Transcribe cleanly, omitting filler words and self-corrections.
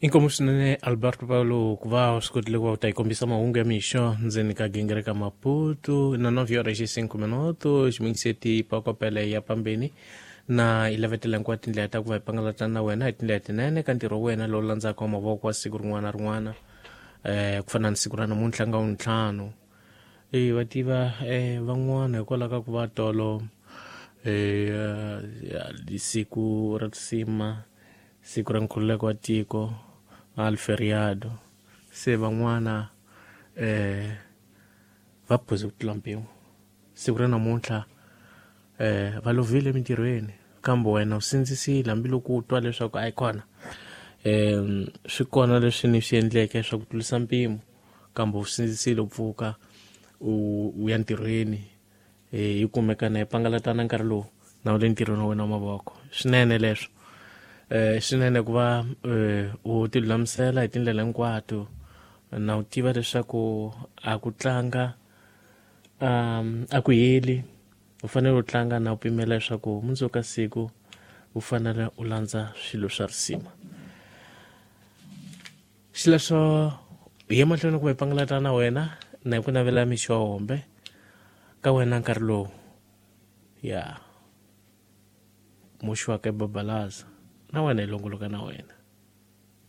Inkomu swinene Alberto Paulo ku va u swi kotile ku va u ta yi kombisa mahungu ya mixo ndzeni ka gingiri ka Maputo na 9 horas e 5 minutos ximingiseti pakopele ya pambeni na yi lavetela hinkwato tindlela ta ku va hi pangalata na wena hi tindlela tinene ka ntirho wa wena lowu landzaka wa mavoko wa siku rin'wana na rin'wana ku fana ni siku ra namuntlha nga wuntlhanu e va tiva van'wana hikwalaho ka ku va tolo siku ra risima siku ra nkhululeko wa tiko al feriado se van'wana va phuze ku tlula mpimo siku ra namuntlha va lovile emintirhweni kambe wena u sindzisile hambiloko u twa leswaku a yi kona swi kona leswi ni swi endleke swa ku tlurisa mpimo kambe u sindzisile u pfuka u ya ntirhweni hi kumeka na hi pangalatana nkarhi lowu na u le ntirhweni wa wena wa mavoko swinene leswo swinene ku va u ti lulamisela hi tindlela hinkwato na u tiva leswaku a ku tlanga a ku heli u fanele u tlanga na u pimela leswaku mundzuku ka siku u fanele u landza swilo swa risima xileswo hi ye mahlweni ku va hi pangalata na wena na hi ku navela mixo wa hombe ka wena nkarhi lowu ya muxi wa ka babalaza na wena hi longoloka na wena.